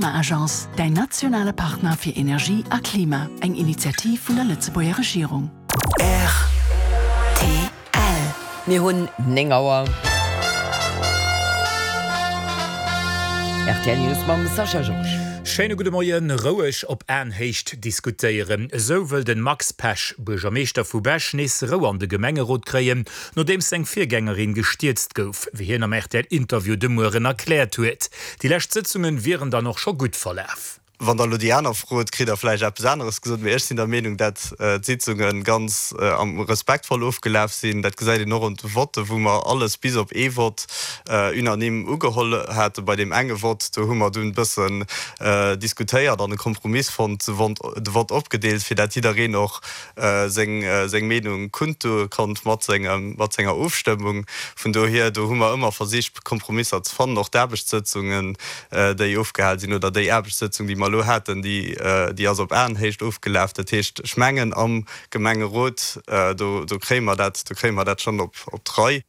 Klima-Agence, däin nationale Partner fir Energie a Klima, eng Initiativ vun der Lëtzebuerger Regierung. Rtl. Mir hunn 9 Auer. Rtl News mam Sascha Georges. Schéine gudde Moien. Roueg op Aenhéicht diskutéieren, esou wëll den Max Pesch, Buergermeeschter vu Bech, nees Rou an de Gemengerot kréien, nodeems seng Virgängerin gestierzt gouf, wéi hien am RTL-Interview de Mueren erkläert huet. Déi lescht Sëtzungen wieren dann och scho gutt verlaf. Wann Der elo déi aner frot, kritt Der vläicht eppes aneres gesot. Mee ech sinn der Meenung, dat d'Sitzunge ganz respektvoll ofgelaf sinn. Dat gesäit een och un de Votte, wou mer alles bis op ee Vott unanime ugeholl haten. Bei deem enge Vott, do hu mer dunn e bëssen diskutéiert an e Kompromiss fonnt, de Vott opgedeelt, fir dat jiddereen och seng Meenung kundtue konnt mat senger Ofstëmmung. Vun dohier, do hu mer ëmmer versicht, Kompromisser ze fannen. Och d'Aarbechtssëtzungen, déi ofgehal sinn, oder déi Aarbechtssëtzung, déi mer elo haten, déi, déi ass op Aenhéicht ofgelaf. Dat heescht, ech mengen, am Gemengerot, do, do kréie mer dat, do kréie mer dat schonn op, op d'Rei.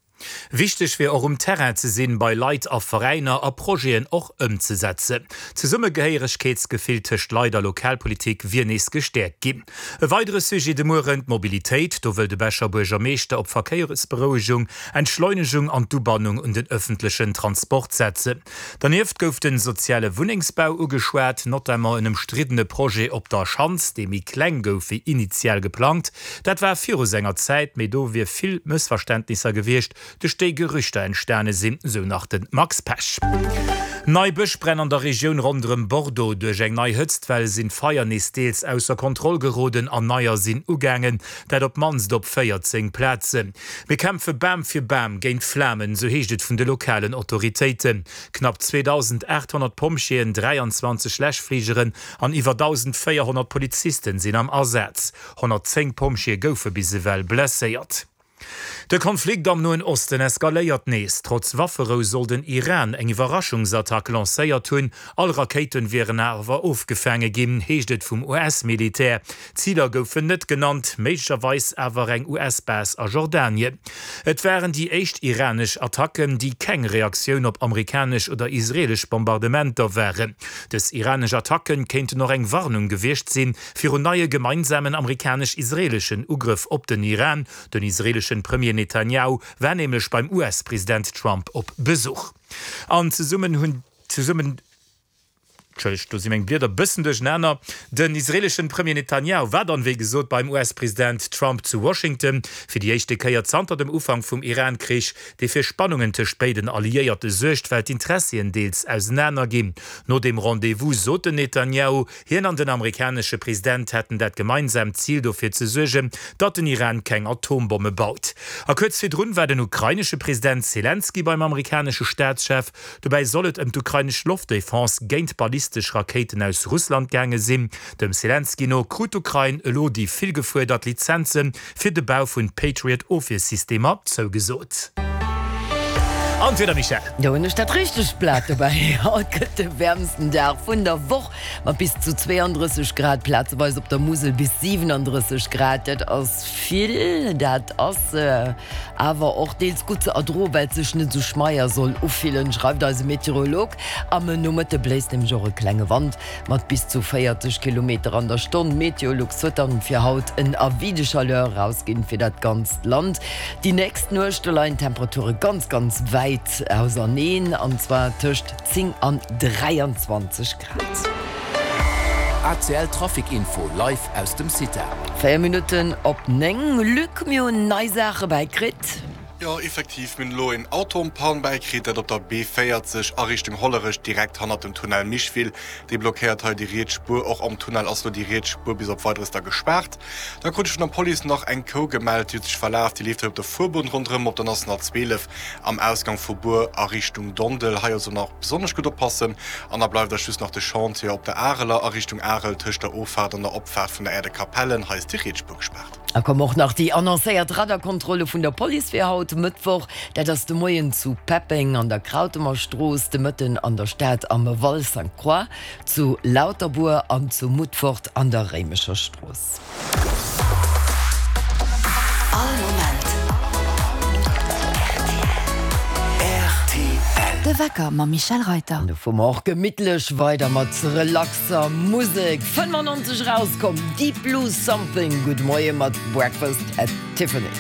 Wichteg wier och um Terrain ze sinn, bei Leit a Veräiner a Projeten och ëmzesetzen. D'Zesummegehéieregkeetsgefill tëscht Leit a Lokalpolitik wier nees gestäerkt ginn. E weidere Sujet de Mueren, d'Mobilitéit. Do wëll de Becher Buergermeeschter op Verkéiersberouegung, Entschleunegung an d'Ubannung un den ëffentlechen Transport setzen. Dernieft gouf de soziale Wunnengsbau ugeschwat, notamment en ëmstriddene Projet op der Schanz, dee méi kleng gouf wéi initial geplangt. Dat war viru senger Zäit, mee do wier vill Mëssverständnisser gewiescht, duerch déi Gerüchter entstane sinn, sou nach de Max Pesch. Nei Bëschbränn an der Regioun ronderëm Bordeaux. Duerch eng nei Hëtztwell sinn d'Feier nees deels ausser Kontroll geroden an neier sinn ugaangen, dat op d'mannst op 14 Plazen. Mir kämpfe Bam fir Bam géint d'Flamen, sou heescht et vun de lokalen Autoritéiten. Knapp 2.800 Pompjeeën, 23 Läschfligeren an iwwer 1.400 Polizisten sinn am Asaz. 110 Pompjeeë goufe bis ewell blesséiert. De Konflikt am Noen Osten eskaléiert nees. Trotz Wafferou soll den Iran eng Iwwerraschungsattack lancéiert hunn. All Rakéiten wieren awer ofgefaange ginn, heescht et vum US-Militär. Ziler goufen net genannt, méiglecherweis awer eng US-Base a Jordanien. Et waren déi éischt iranesch Attacken, déi keng Reaktioun op amerikanesch oder israelesch Bombardementer waren. Dës iranesch Attacken kéinten och eng Warnung gewiescht sinn virun neie gemeinsamen amerikanesch-israeleschen Ugrëff op den Iran. Den israeleschen Premier Netanjahu war nämlech beim US-President Trump op Besuch. An zesummen hunn zesummen. Entschëllegt, do si meng Blieder e bëssen duerchenaner. Den israeleschen Premier Netanjahu war dann, wéi gesot, beim US-President Trump zu Washington, fir déi éischte Kéier zanter dem Ufank vum Iran-Krich, dee fir Spannungen tëscht béiden Alliéierte suergt, well d'Interessien deels ausenaner ginn. No dem Rendez-vous sot den Netanjahu, hien an den amerikanesche President hätten dat gemeinsaamt Zil, dofir ze suergen, datt den Iran keng Atombomme baut. A kuerz virdrun war den ukrainesche President Selenskyj beim amerikanesche Staatschef. Dobäi soll et ëm d'ukrainesch Loftdefense géint ballistesch Rakéiten aus Russland gaange sinn. Dem Selenskyj no krut d'Ukrain elo déi vill gefuerdert Lizenze fir de Bau vun Patriot-Ofwiersystemer zougesot. An d'Wieder, Michèle? Do hunn ech dat richtegt Blat dobäi. Haut gëtt de wäermsten Dag vun der Woch mat bis zu 32 Grad, plazeweis op der Musel bis 37 Grad. Dat ass vill, dat ass Awer och deels gutt ze erdroen, well et sech net esou schmeier soll ufillen, schreift eise Meteorolog. Am Nomëtte bléist nämlech och e klenge Wand mat bis zu 40 Kilometer an der Stonn. Meteolux huet dann fir haut en Avis de chaleur erausginn fir dat ganzt Land. Déi nächst Nuecht, do leien d'Temperature ganz, ganz wäit auserneen, an zwar tëscht 10 an 23 Grad. ACL Trafic Info live aus dem CITA. 4 Minutten op 9, Luc, mir hunn nei Saache bäikritt. Jo, effektiv, mir hunn elo een Auto en panne bäikritt, dat op der B40 a Richtung Hollerech, direkt hannert dem Tunnel Micheville. Dee blockéiert hei déi riets Spuer. Och am Tunnel ass elo déi riets Spuer bis op Weideres da gespaart. Da krut ech vun der Police nach eng Kou gemellt, déi huet sech verlaf. Déi leeft hei op der Fuerbunn ronderëm op der National 12 am Ausgang vu Bur a Richtung Dondel. Hei also nach besonnesch gutt oppassen. An da bleift eis just nach de Chantier op der Areler a Richtung Arel tëscht der Offaart an der Opfaart vun der Aire de Capellen. Hei ass déi riets Spuer gespaart. Da kommen och nach déi annoncéiert Radarkontrolle vun der Police fir haut Mëttwoch. Dat ass de Moien zu Peppeng an der Krautemer Strooss, de Mëtten an der Stad am Val Sainte-Croix, zu Lauterbuer an zu Mutfort an der Réimecher Strooss. All Moment rtl. De Wecker mam Michel Reuter. An do fuere mer och gemittlech weider mat relaxer Musek. 95 erauskomm, Deep Blue Something. Gudde Moie mat Breakfast at Tiffany's.